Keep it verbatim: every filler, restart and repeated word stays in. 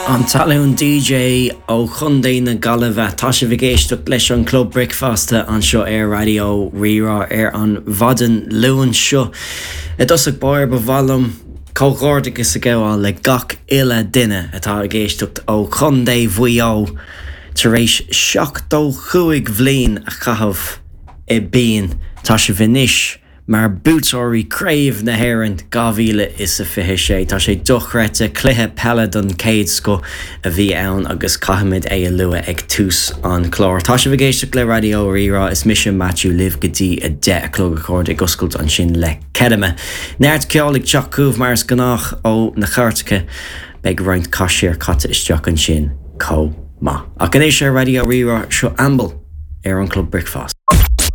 An talún DJ ó Chontae na Gaillimhe tá sibh ag éisteacht leis an Club Bricfeasta anseo ar Raidió Rí-Rá ar an mhaidin Luain seo. I dtosach báire ba mhaith liom comhghairdeachas a ghabháil le gach uile duine atá ag éisteacht ó Chontae Mhaigh Eo tar éis seachtó cúig bliain a chaitheamh i bpian tá sibh anois mar buaiteoirí Craobh na hÉireann dhá mhíle is a fiche sé. Tá sé dochreidte cluiche peile den chéad scoth a bhí ann agus caithfimid é a lua ag tús an chláir. Tá sibh ag éisteacht le Raidió Rí-Rá is mise Matthew libh go dtí a deich a chlog a chairde ag oscailt ansin le Kettama. Neart ceoil ag teacht chugaibh mar is gnách ó na cairteacha beidh roinnt caiséir caite isteach ansin chomh maith. Ach anois ar Raidió Rí-Rá seo Amble ar an Club Bricfeasta.